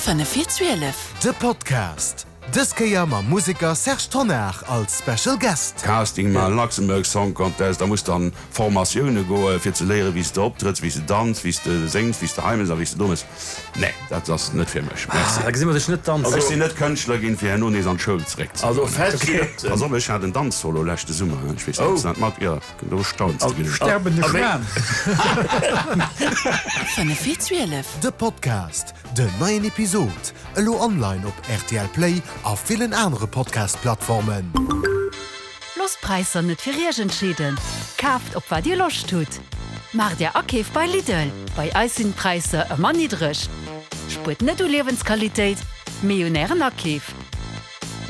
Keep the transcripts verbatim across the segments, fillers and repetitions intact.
Fënnef vir zwielef. De Podcast, dës Kéier mam Museker Serge Tonnar als Special Guest. Casting maachen, Luxembourg Song Contest, da muss de an Formatioune goen, fir ze léieren, wéi s de optrëtts, wéi s de danz, wéi s de séngs, wéi s de hei mëss a wéi s de do mëss. Nee, dat ass net fir mech. Merci. Ah, da gesi mer dech net danzen. Ech sinn net Kënschtler ginn, fir herno nees an d'Schoul zeréck ze Also goen. fest steet. Pass op, ech hat en Danzsolo leschte Summer, ech weess net, ob s de dat mat, jo, do stauns de genuch. Sterbende Schwan. Fënnef vir zwielef. De Podcast, Den neien Episod, elo online op rtl Play a villen anere Podcast-Plattformen. Loosst d'Präisser net fir Iech entscheeden, kaaft op wat Dir Loscht hutt. Maacht Är Akeef bei Lidl, bei eis sinn d'Präisser ëmmer niddreg. Spuert net u Liewensqualitéit, mee un Ären Akeef.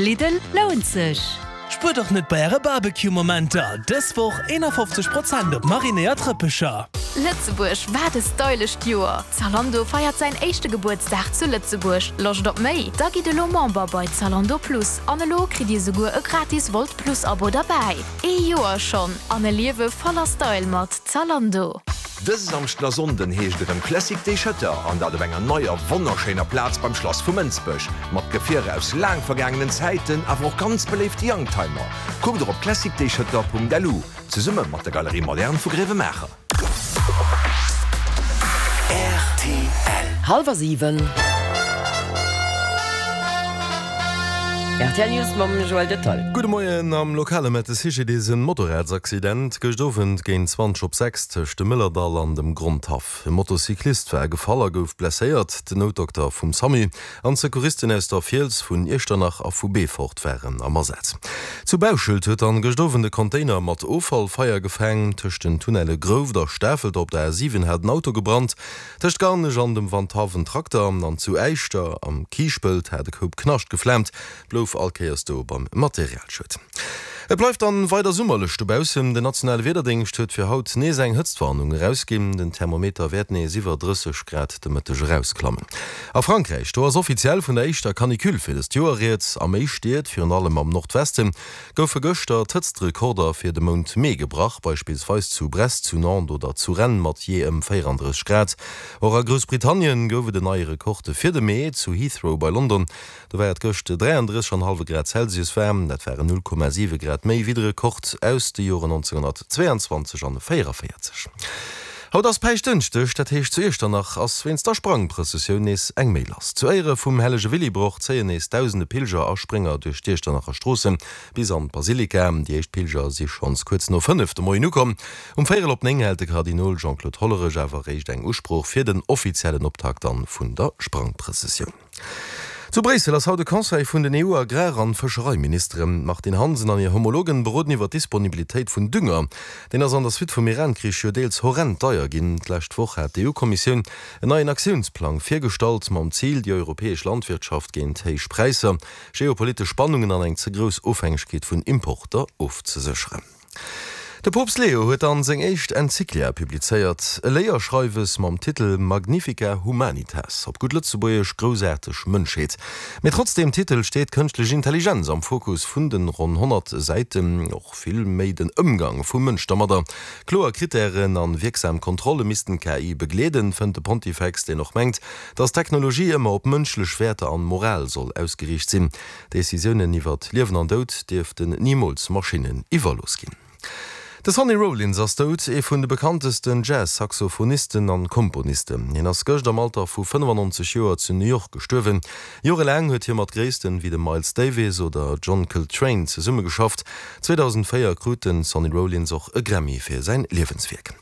Lidl lount sech! Spuert och net bei äre Barbecue-Momenter! Dës Woch eenafofzeg Prozent op marinéiert Rëppecher! Lëtzebuerg, wat e stylescht Joer! Zalando feiert säin éischte Gebuertsdag zu Lëtzebuerg. Loscht op méi? Da gitt elo Member bei Zalando Plus an elo kritt Dir souguer e gratis Wolt Plus Abo derbäi. Ee Joer schonn an e Liewe voller Style mat Zalando! Dëse Samschden a Sonnden heescht et erëm Classic Day Schëtter, an dat op enger neier, wonnerschéiner Plaz beim Schlass vu Mënsbech. Mat Gefierer aus laang vergaangenen Zäiten, awer och ganz beléifte Youngtimer. Kuckt och op classicdayschëtter.lu, zesumme mat der Galerie Moderne vu Gréiwemaacher. Rtl. Hallwer siwen. Rtl News mam Joël Detail. Gudde Moien, Am Lokale mellt de C G D S en Motorradsaccident gëscht Owend géint zwanzeg op sechs tëscht dem Mëllerdall an dem Grondhaff. E Motocyclist war gefall a gouf blesséiert. Den Noutdokter vum Samu an d'Secouristen aus der Fiels, vun Iechternach a vu Beefort waren am Asaz. Zu Bauschelt huet dann gëscht Owend e Container mat Offall Feier gefaang. Tëscht den Tunnelle Grouft a Stafelter op der A siwen hat en Auto gebrannt. Tëscht Garnech an dem Wandhaff en Trakter an zu Äischter am Kiischpelt hat e Koup Knascht geflaamt. Blouf all Kéiers do beim Materialschued. Et bleift dann weider summerlech dobaussen. Den nationale Wiederdéngscht huet fir haut nees eng Hëtztwarnung erausginn. Den Thermometer wäert nees iwwer drësseg Grad de Mëtteg erausklammen. A Frankräich, do ass offiziell vun der éischter Canicule fir dëst Joer rieds. A méi Stied, virun allem am Nordwesten, goufe gëschter d'Hëtztrekorder fir de Mount Mee gebrach, beispillsweis zu Brest, zu Nantes oder zu Rennes mat jee ëm véierandrësseg Grad. Och a Groussbritannien gouf et en neie Rekord fir de Mee, zu Heathrow bei London. Do war et gëscht dräiandrësseg an hallwe Grad Celsius waarm, dat waren null Komma siwe Grad méi wéi de Rekord aus de Joren nonzénghonnertzweeanzwanzeg an véieraféierzeg. Haut ass Päischtdënschdeg, dat heescht zu Iechternach ass wéinst der Sprangprëssessioun nees eng méi lass. Zu Éiere vum hellege Willibrord zéien nees dausende Pilger a Sprénger duerch d'Iechternacher Stroosse bis an d'Basilika. Déi éischt Pilger si schonns kuerz no fënnef de Moien ukomm. Um véierel op néng hält de Kardinol Jean-Claude Hollerech awer eréischt eng Usprooch fir den offiziellen Optakt dann vun der Sprangprëssessioun. Zu Bréissel ass haut de Conseil vun den E U-Agrar an Fëschereiministeren. D'Martine Hansen an hir Homologen beroden iwwer d'Disponibilitéit vun Dünger. Deen ass an der Suite vum Iran-Krich jo deels horrend deier ginn. D'lescht Woch hat d'E U-Kommissioun en neien Aktiounsplang virgestallt, mam Zil, déi europäesch Landwirtschaft géint héich Präisser, geopolitesch Spannungen an eng ze grouss Ofhängegkeet vun Importer ofzesécheren. De Poopst Leo huet dann seng éischt Enzyklia publizéiert, e Léierschreiwes mam Titel Magnifica Humanitas, op gutt Lëtzebuergesch Groussaarteg Mënschheet. Mee trotz deem Titel steet d'kënschtlech Intelligenz am Fokus vun den ronn honnert Säiten, och vill méi den Ëmgang vum Mënsch dermadder. Kloer Krittären an wierksam Kontrolle missten d'K I begleeden, fënnt de Pontifex, deen och mengt, dass d'Technologie ëmmer op mënschlech Wäerter an Moral soll ausgeriicht sinn. Decisiounen iwwert Liewen an Doud dierften nimools Maschinnen iwwerlooss ginn. De Sonny Rollins ass dout, ee vun de bekanntesten Jazz-Saxophonisten an Komponisten. Hien ass gëscht am Alter vu fënnefannonzeg Joer zu New York gestuerwen. Jorelaang huet hie mat Gréissten wéi dem Miles Davis oder John Coltrane zesummegeschafft. zweedausendvéier krut de Sonny Rollins och e Grammy fir säin Liewenswierk.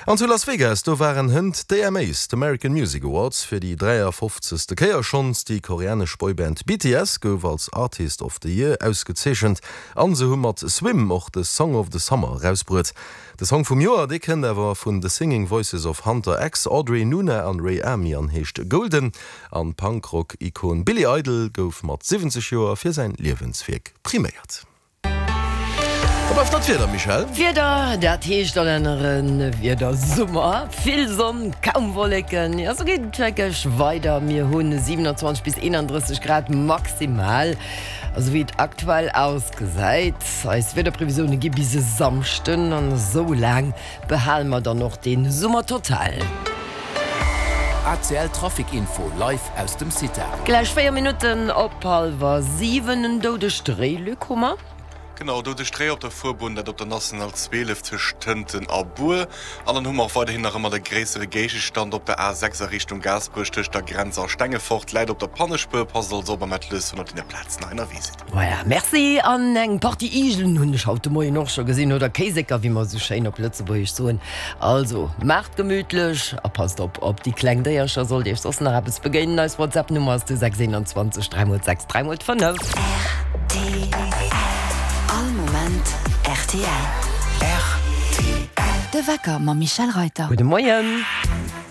An zu Las Vegas, do waren hënt d'A M As, d'American Music Awards, fir déi dräiafofzegste Kéier schonns. Déi koreanesch Boyband B T S gouf als Artist of the Year ausgezeechent an se hu mat Swim och de Song of the Summer erausbruet. De Song vum Joer, dee kënnt awer vun The Singing Voices of Hunter X, Audrey Nuna an Ray Ami an heescht Golden. An Punkrock-Ikon Billy Idol gouf mat siwwenzeg Joer fir säin Liewenswierk priméiert. Da bleift nach d'Wieder, Michèle. D'Wieder, dat heescht an anere Wieder Summer, vill Sonn, kaum Wolleken. Jo, sou geet et wierklech weider. Mir hunn siewenundzwanzeg bis eenandrësseg Grad maximal, esou wéi et aktuell ausgesäit. Eis Wiederprevisioune gi bis e Samschden an esou laang behale mer dann och de Summer total. A C L Trafic Info live aus dem CITA. Gläich véier Minutten op hallwer siwen, en doudegt Réi, Luc Hummer. Genau, doudegt Réi op der Fuerbunn, dat op der National zwielef tëscht Tënten a Bur. An dann hu mer och weiderhin nach ëmmer de gréissere Géigestand op der A sechs a Richtung Gaasperech tëscht der Grenz a Stengefort. Läit op der Pannespuer. Passt also op a mat lues, wann der op deene Plazen hei ënnerwee sidd. Voilà, merci. An eng Partie Igelen hunn ech haut de Moien och scho gesinn, oder Kéisécker, wéi mer esou schéin op Lëtzebuergesch soen. Also, maacht gemütlech a passt op op déi kleng Déiercher. Sollt Iech soss nach eppes begéinen, eis WhatsApp-Nummer ass de sechs eenanzwanzeg dräi mol sechs dräi mol fënnef. Rtl, All Moment rtl. De Wecker mam Michèle Reyter. Gudde Moien.